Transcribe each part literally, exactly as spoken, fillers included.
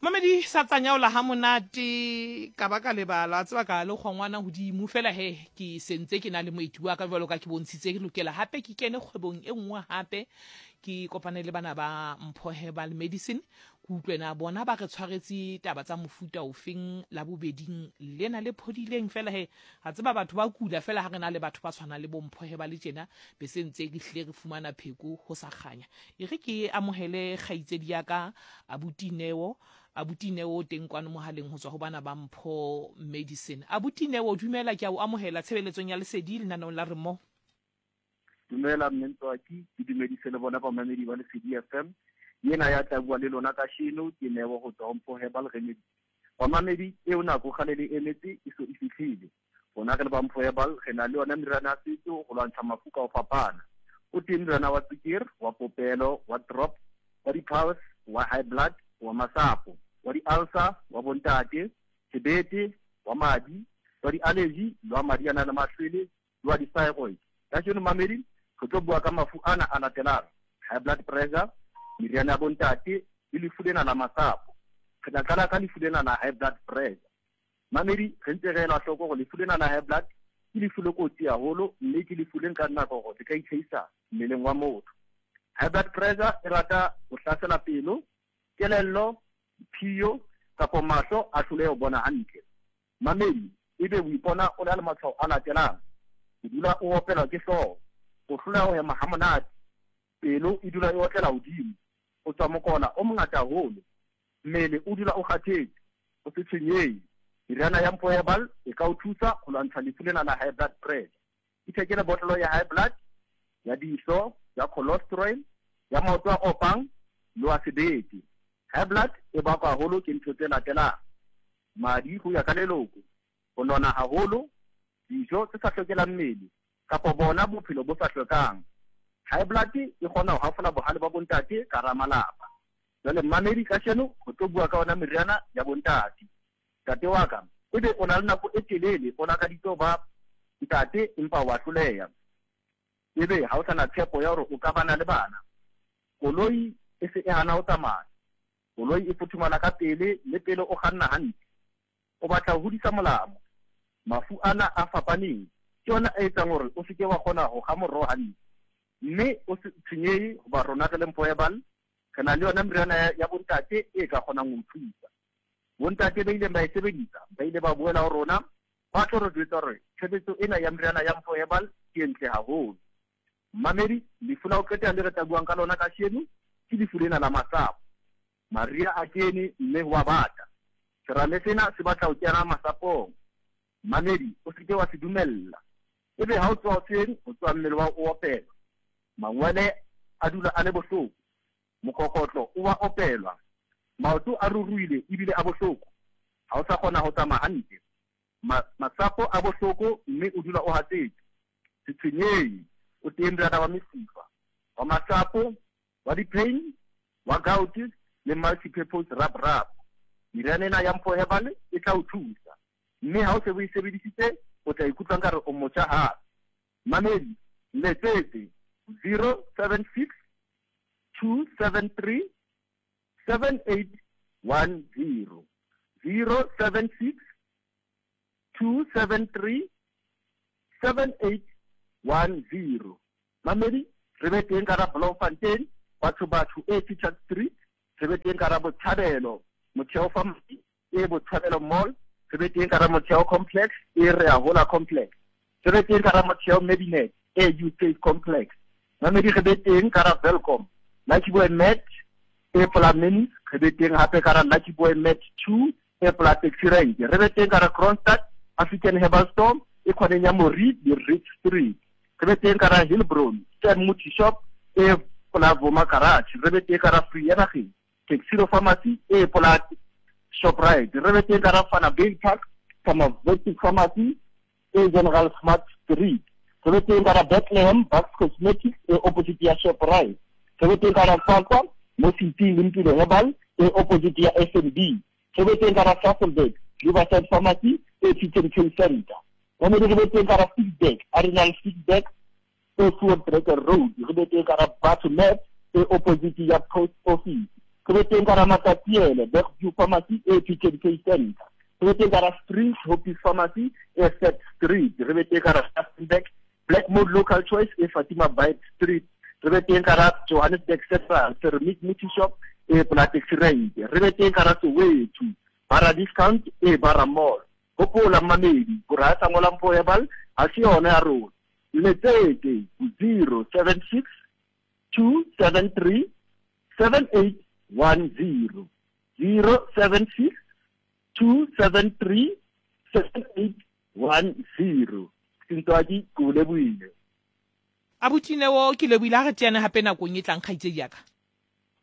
Mamedi sa tsanyaola ha monate ka ba ka lebala, tseba ka le kgongwana hodimo fela he ke sentse ke na le moeti wa ka jwalo ka ke bontshitse ke lokela hape ke kene kgwebong e nngwe hape ke kopane le bana ba Mpho Herbal Medicine ke utlwe na bona ba re tshwaretse taba tsa mofuta ofeng la bobeding lena le phodileng fela he ga tseba batho ba kula fela ha re na le batho ba tshwanang le bo Mpho Herbal tjena be se ntse ke hlile re fumana pheko ho sa kganya. E re ke amohele kgaitsedi ya ka abuti Neo. Abuti Neo teng kwano mohaleng ho tswa ho bana ba Mpho Medicine. Abuti Neo, dumela, ke a o amohela tshebeletsong ya Lesedi lenaneong la Re Mo. Dumela mme Ntswaki, ke dumedise le bona bamamedi ba Lesedi F M. Yena ya tla bua le lona kasheno ke Neo ho tswa ho Mpho Herbal Remedy. Bamamedi, eo nako kgale le emetse e so e fihlile. Rona re le ba Mpho Herbal re na le yona meriana ya setso ho lwantsha mafu ka ho fapana. O teng moriana wa tswekere, wa popelo, wa drop, wa di-pulse, wa high blood, wa masapo, wa di-ulcer, wa bontate, sebete, wa madi, wa di-allergy, le wa madi a nang le mahlwele, le wa di-thyroid. Kajeno mamedi, re tlo bua ka mafu ana a latelang: high blood pressure, meriana ya bontate, le lefu lena la masapo. Re tla qala ka lefu lena la high blood pressure. Mamedi, re ntse re ela hloko hore lefu lena la high blood ke lefu le kotsi haholo, mme ke lefu le nkang nako hore le ka itlhahisa mmeleng wa motho. High blood pressure e rata ho hlasela pelo, kelello, phiyo kapa mahlo a hloleha ho bona hantle. Mamedi, ebe o ipona o na le matshwao a latelang: o dula o opelwa ke hlooho, o hloleha ho hema ha monate, pelo e dula e otlela hodimo, o tswa mokola o mongata haholo, mmele o dula o kgathetse, o se tshwenyehe. Meriana ya Mpho Herbal e ka o thusa ho lwantsha lefu lena la high blood pressure. Ithekele botlolo ya high blood, ya diso, ya cholesterol, ya maoto a opang le wa sebete. High blood e bakwa haholo ke ntho tse latelang: madi ho ya ka leloko, ho nona haholo, dijo tse sa hlokelang mmele kapa bona bophelo bo sa hlwekang. High blood e kgona ho hafola bohale ba bontate ka hara malapa. Jwale mmamedi, kasheno ho tlo bua ka ona meriana ya bontate. Ntate wa ka, ebe o na le nako e telele o lakaditse ho ba ntate empa wa hloleha, ebe ha o sa na tshepo ya hore o ka bana le bana. Koloi e se e hana ho tsamaya, koloi e futhumala ka pele le pele o kganna hantle, o batla ho hodisa molamo. Mafu ana a fapaneng ke yona a etsang hore o seke wa kgona ho kga moroho hantle, mme o se tshwenyehe hoba rona re le Mpho Herbal re na le yona meriana ya, ya bontate e ka kgonang ho thusa. Bontate ba ileng ba e sebedisa ba ile ba boela ho rona ba tlo re jwetsa hore tshebetso ena ya meriana ya Mpho Herbal ke e ntle haholo. Mamedi, lefu la ho qetela le re tla buang ka lona kasheno ke lefu lena la masapo. Mariha a kene mme ho a bata. Serame sena se batla ho kena masapong. Mamedi, o seke wa se dumella. Ebe ha o tsoha hoseng, o tsoha mmele wa o opelwa, mangwele a dula a le bohloko, mokokotlo o wa opelwa, maoto a ruruhile ebile a bohloko, ha o sa kgona ho tsamaya hantle, Ma-, masapo a bohloko mme o dula o hatsetse. Se tshwenyehe, o teng moriana wa mesifa, wa masapo, wa di-pain, wa gout le multi-purpose rub rub. Meriana ena ya Mpho Herbal e tla o thusa, mme ha o se o e sebedisitse o tla ikutlwa nkare o motjha hape. Mamedi, letsetse zero seven six two seven three seven eight one zero. Zero seven six two seven three seven eight one zero. Mamedi, re be teng ka ra Bloemfontein, batho batho e Teachers Street, re be teng ka ra Botshabelo, Motheo Pharmacy e Botshabelo Mall, re be teng ka ra Motheo Complex e Re a Hola Complex, re be teng ka ra Motheo Medinet e U State Complex. Mamedi, re be teng ka ra Welkom, Lucky Boy Met e Polameni, re be teng hape ka ra Lucky Boy Met two e pola Taxi Rank, re be teng ka ra Kroonstad African Herbal Store e khoneng ya Mori le Ridge Street, re be teng ka ra Hillbron Stan Muti Shop e pola Vuma Garage, re be teng ka ra Free Taxiro Pharmacy e pola Shoprite, re be teng ka ra Vanderbijlpark Park Pharmaceutical Pharmacy e General Smart Street, re be teng ka ra Bethlehem Bucks Cosmetics e opposite ya Shoprite, re be teng ka ra Qwaqwa mo City le Mpilo Herbal e opposite ya S N B, re be teng ka ra Sasolburg Riverside Pharmacy e P K Center. Mamedi, re be teng ka ra Ficksburg Arenal Ficksburg e Voortrekker Road, re be teng ka ra Batho Met e opposite ya Post Office. Re be teng ka hara Matatiele, Bergview Pharmacy e P K D K Center. Re be teng ka hara Springs, Hope Pharmacy e Third Street. Re be teng ka hara Rustenburg, Blackmore Local Choice e Fatima Bite Street. Re be teng ka hara Johannesburg Central, Ceramic Multi Shop e Polatex Rank. Re be teng ka hara Soweto, Bara Discount e Bara Mall. Hopola mmamedi, hore ha sa ngola Mpho Herbal, ha se yona ya rona. Letsete zero seven six two seven three seven eight one zero. Zero seven six two seven three seven eight one zero. Sentwadi, ke o lebohile. Abuti Neo, ke lebohile ha re teane hape nakong e tlang, kgaitsedi ya ka.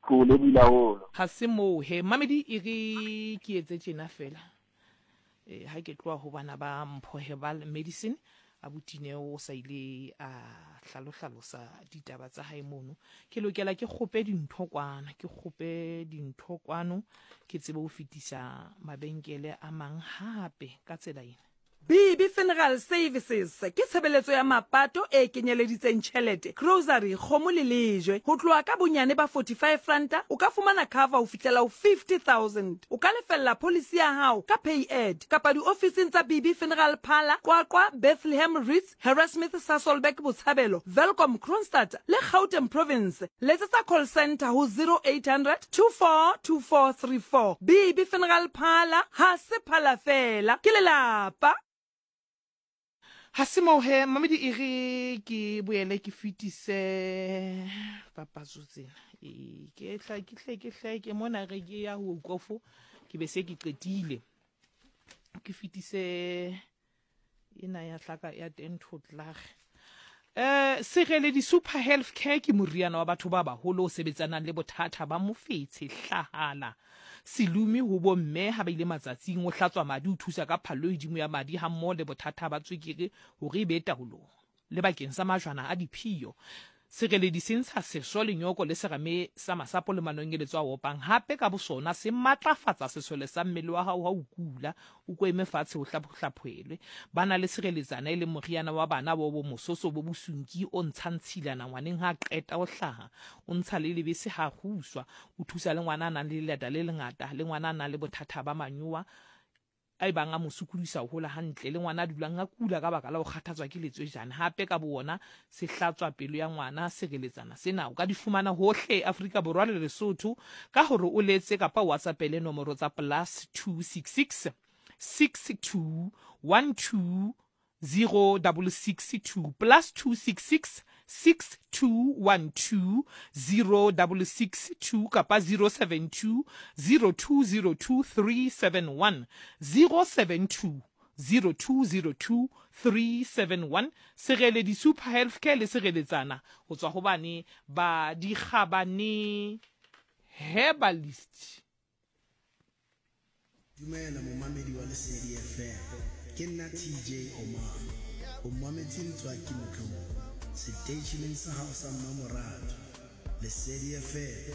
Ke o lebohile haholo. Ha se moo he, mamedi e re ke etse tjena fela. Eh, ha ke tloha ho bana ba Mpho Herbal Medicine, abuti Neo o sa ile a hlalohlalosa ditaba tsa hae mono. Ke lokela ke kgope dintho kwana, ke kgope dintho kwano, ke tsebe ho fetisa mabenkele a mang hape ka tsela ena. B B Funeral Services ke tshebeletso ya mapato e kenyeleditseng tjhelete, grocery, kgomo le lejwe. Ho tloha ka bonyane ba forty-five ranta, o ka fumana cover ho fihlela ho fifty thousand. O ka lefella policy ya hao ka pay ad kapa diofising tsa B B Funeral Parlour, Qwaqwa, Bethlehem Ritz, Harrismith, Sasolburg, Botshabelo, Welkom, Kroonstad le Gauteng Province. Letsetsa call center ho zero eight hundred two four two four three four. B B Funeral Parlour, ha se phala fela, ke lelapa. Ha se moo he, mamedi e re ke boele ke fetise papatso tsena. E, ke tla, ke hle, ke hle, ke mona re ke ya ho kofo, ke be se ke qetile. Ke fetise ena ya hlaka ya ten to tlag. Eh, Sereledi Super Health Care ke moriana wa batho ba baholo o sebetsanang le bothata ba mofetshe, hlahala, selumi ho bomme ha ba ile matsatsing, o hlatswa madi, o thusa ka phallo e hodimo ya madi ha mmoho le bothata ba tswekere hore e be taolong, le bakeng sa majwana a diphio. Sereledi se ntsha seso, lenyoko le serame sa masapo le manonyeletso a opang. Hape ka bosona se matlafatsa sesole sa mmele wa hao ha o kula, o ko eme fatshe o hlaphohlaphoelwe. Ba na le sireletsana e leng moriana wa bana bo bo mososo bo bosunki o ntshang tshilana ngwaneng ha qeta ho hlaha, o ntsha le lebese ha kguswa, o thusa le ngwana a nang le lelata le lengata, le ngwana a nang le bothata ba manyowa a ebang a mo sokodisa ho hola hantle, le ngwana a dulang a kula ka baka la ho kgathatswa ke letswejane. Hape ka bo wona se hlatswa pelo ya ngwana. Sireletsana sena o ka di fumana hohle Afrika Borwa le Lesotho ka hore o letse kapa o WhatsAppele nomoro tsa plus two six six six two one two zero double six two, plus two six six six two one two zero double six two kapa zero seven two zero two zero two three seven one, zero seven two zero two zero two three seven one. Sereledi Super Health Care le sireletsana ho tswa ho bane ba dikgabane herbalist. Dumela momamedi wa Lesedi F M, ke nna T J Omar. O mametse Ntswaki Motlou seteisheneng sa hao sa mmamoratwa Lesedi F M.